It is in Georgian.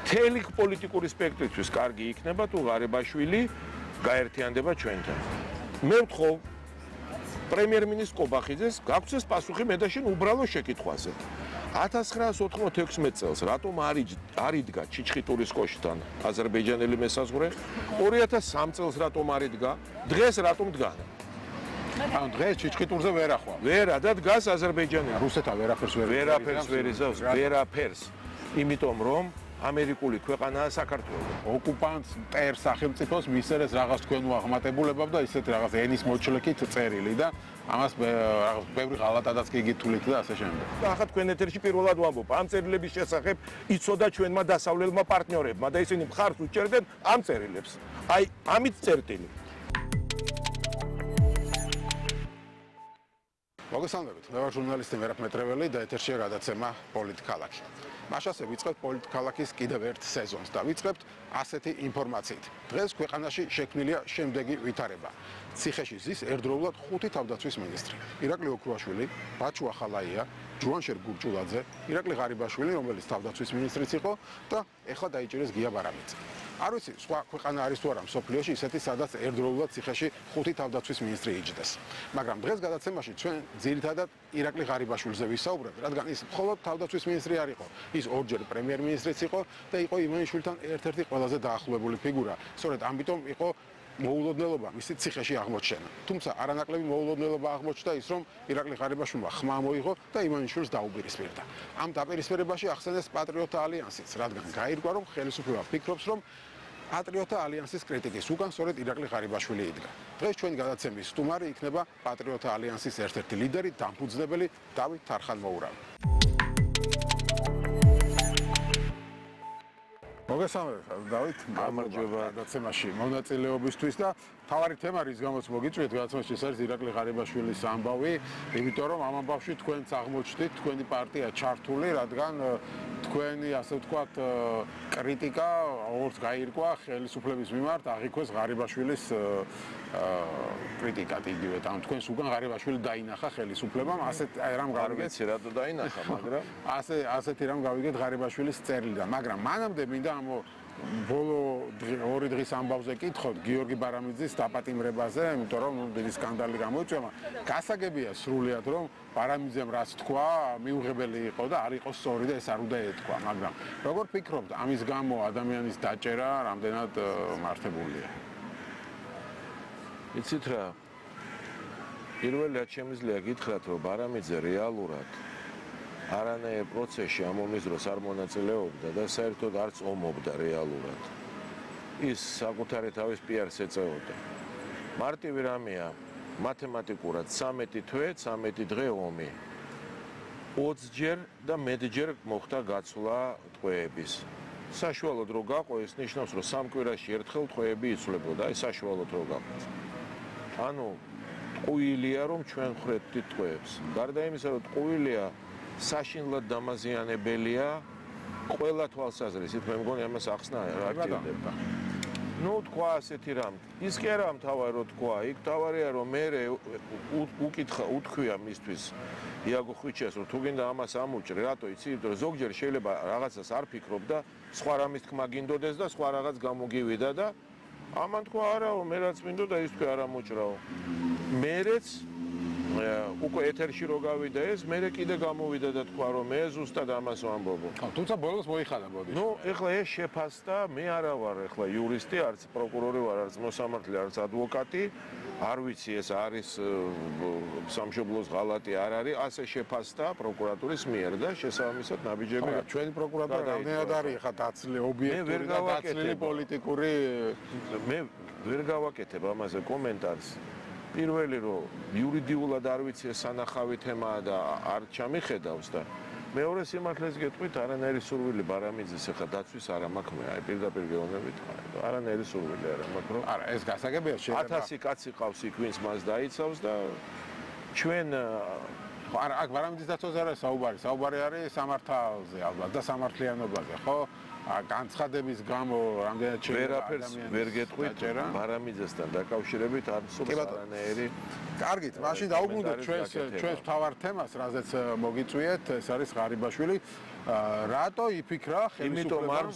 მთელი პოლიტიკური სპექტრისთვის კარგი იქნება თუ ღარიბაშვილი გაერთიანდება ჩვენთან. მე ვთხოვ პრემიერ-მინისტრ კობახიძეს გაგვცეს პასუხი მე და შენ უბრალო შეკითხვაზე. 1996 წელს რატომ არ იდგა ჩიჩხიტურის კოშკთან აზერბაიჯანელი მესაზღვრე? 2003 წელს რატომ არ იდგა? დღეს რატომ დგანა? ანუ დღეს ჩიჩხიტურზე ვერ ახვა. ვერა და დგას აზერბაიჯანელი. რუსეთთან ვერაფერს ვერ იზავს, ვერაფერს. იმიტომ რომ ამერიკული ქვეყანაა საქართველო. ოკუპანტს მტერ სახელმწიფოს მისცეს რაღაც თქვენ უაღმატებულებავ და ისეთ რაღაც ენის მოჩლეკით წერილი და ამას რაღაც ბევრი ღალატადაც კი გითვლით და ასე შემდეგ. და ახლა თქვენ ეთერში პირველად ვამბობ, ამ წერილების შესახებ იცოდა ჩვენმა დასავლელმა პარტნიორებმა და ისინი მხარს უჭერდნენ ამ წერილებს. აი, ამით წერტილი. მოგესალმებით, მე ვარ ჟურნალისტი მერაბ მეტრეველი და ეთერშია გადაცემა პოლიტქალაქი. მაშასე ვიწყებთ პოლიტქალაქის კიდევ ერთ სეზონს და ვიწყებთ ასეთი ინფორმაციით. დღეს ქვეყანაში შექმნილია შემდეგი ვითარება. ციხეში ზის ერთდროულად 5 თავდაცვის მინისტრი. ირაკლი ოქრუაშვილი, ბაჩუ ახალაია, ჯუანშერ გურჯულაძე, ირაკლი ღარიბაშვილი, რომელიც თავდაცვის მინისტრიც იყო და ეხლა დაიჭირეს გია ბარამიძე. არ ვიცი, სხვა ქვეყანა არის თუ არა მსოფლიოში ისეთი, სადაც ერთდროულად ციხეში 5 თავდაცვის მინისტრი იჯდეს. მაგრამ დღეს გადაცემაში ჩვენ ძირითადად ირაკლი ღარიბაშვილზე ვისაუბრებთ, რადგან ის მხოლოდ თავდაცვის მინისტრი არ იყო. ის ორჯერ პრემიერ-მინისტრიც იყო და იყო ივანიშვილთან ერთ-ერთი ყველაზე დაახლოებული ფიგურა. სწორედ ამიტომ იყო მოულოდნელობა მისი ციხეში აღმოჩენა. თუმცა არანაკლები მოულოდნელობა აღმოჩნდა ის, რომ ირაკლი ღარიბაშვილმა ხმა მოიღო და ივანიშვილს დაუპირისპირდა. ამ დაპირისპირებაში ახსენეს პატრიოტთა ალიანსიც, რადგან გაირკვა, რომ ხელისუფლება ფიქრობს, რომ პატრიოტთა ალიანსის კრიტიკის უკან სწორედ ირაკლი ღარიბაშვილი იდგა. დღეს ჩვენი გადაცემის სტუმარი იქნება პატრიოტთა ალიანსის ერთ-ერთი ლიდერი, დამფუძნებელი დავით თარხან-მოურავი. მოგესალმებით, დავით, გამარჯობა გადაცემაში მონაწილეობისთვის და თავარი თემა რის გამოც მოგიწვიეთ გადაცემაში ეს არის ირაკლი ღარიბაშვილის ამბავი, იმიტომ რომ ამ ამბავში თქვენც აღმოჩნდით, თქვენი პარტია ჩართული, რადგან თქვენი ასე ვთქვათ კრიტიკა როგორც გაირკვა ხელისუფლების მიმართ აღიქვეს ღარიბაშვილის კრიტიკად იგივე და თქვენს უკან ღარიბაშვილი დაინახა ხელისუფლებამ ასეთ რამ გავიგეთ რატო დაინახა, მაგრამ ასეთი რამ გავიგეთ ღარიბაშვილის წერილიდან, მაგრამ მანამდე მინდა ამ ბოლო 2 დღის ამბავზე კითხოთ გიორგი ბარამიძის დაპატიმრებაზე, იმიტომ რომ დიდი სკანდალი გამოიწვია. გასაგებია სრულიად რომ ბარამიძემ რაც თქვა, მიუღებელი იყო და არ იყო სწორი და ეს არ უნდა ეთქვა, მაგრამ როგორ ფიქრობთ, ამის გამო ადამიანის დაჭერა რამდენად მართებულია? იცით რა? პირველად შემიძლია გითხრათ, რომ ბარამიძე რეალურად არანაირ პროცესში ამ ომის დროს არ მონაწილეობდა და საერთოდ არც ომობდა რეალურად. ის საკუთარი თავის პიარს ეწეოდა. მარტივი რამეა, მათემატიკურად 13 თვე, 13 დღე ომი. 20-ჯერ და მეტჯერ მოხდა გაცვლა ტყვეების. საშუალოდ რო გაყო, ეს ნიშნავს, რომ 3 კვირაში ერთხელ ტყვეები იცვლებოდა, აი საშუალოდ რო გაყო. ანუ ტყუილია, რომ ჩვენ ხვდებით ტყვეებს. გარდა იმისა, რომ ტყუილია საშინლად დამაზიანებელია ყველა თვალსაზრისით, მე მგონი ამას ახსნა აქტივდება. ნუ თქვა ასეთი რამ. ის კი არა მთავარი რო თქვა, იქ მთავარია რომ მე უთქვია მისთვის იაგო ხვიჩეს, რომ თუ გინდა ამას ამუჭრე, რატო იცი? იმიტომ რომ ზოგჯერ შეიძლება რაღაცას არ ფიქრობ და სხვა რამის თქმა გინდოდეს და სხვა რაღაც გამოგივიდა და ამან თქვა არაო, მე რაც მინდოდა ის თქვა არ ამუჭრაო. მერეც უკვე ეთერში რო გავიდა ეს, მერე კიდე გამოვიდა და თქვა რომ მე ზუსტად ამას ვამბობო. თუმცა ბოლოს მოიხადა ბოდი. ნუ ეხლა ეს შეფასდა, მე არა ვარ ეხლა იურისტი, არც პროკურორი ვარ, არც მოსამართლე, არც ადვოკატი. არ ვიცი ეს არის სამშობლოს ღალატი არ არის, ასე შეფასდა პროკურატურის მიერ და შესაბამისად ნაბიჯები. ჩვენი პროკურატურა რამდენად არის ხა დაცლილი ობიექტური და დაცლილი პოლიტიკური მე ვერ გავაკეთებ ამაზე კომენტარს. პირველი რომ იურიდიულად არ ვიცი ეს სანახავი თემაა და არ ჩამიხედავს და მეორე სიმართლეს გეტყვით, არანაირი სურვილი ბარამიძის ახლა დაცვის არ მაქვს მე, აი პირდაპირ გეუბნებით, არანაირი სურვილი არ მაქვს, რომ არა, ეს გასაგებია შეიძლება 1000 კაცი ყავს იქ, ვინც მას დაიცავს და ჩვენ არა, აქ ბარამიძის დაცვაზე არა საუბარი, საუბარი არის სამართალზე ალბათ და სამართლიანობაზე, ხო? განცხადების გამო რამდენად ვერაფერს ვერ გეტყვით ბარამიძესთან დაკავშირებით არ სურს არანაირი. კარგით, მაშინ დაუბრუნდეთ ჩვენს მთავარ თემას, რაზეც მოგიწვიეთ, ეს არის ღარიბაშვილი. რატო იფიქრა ხელისუფლებამ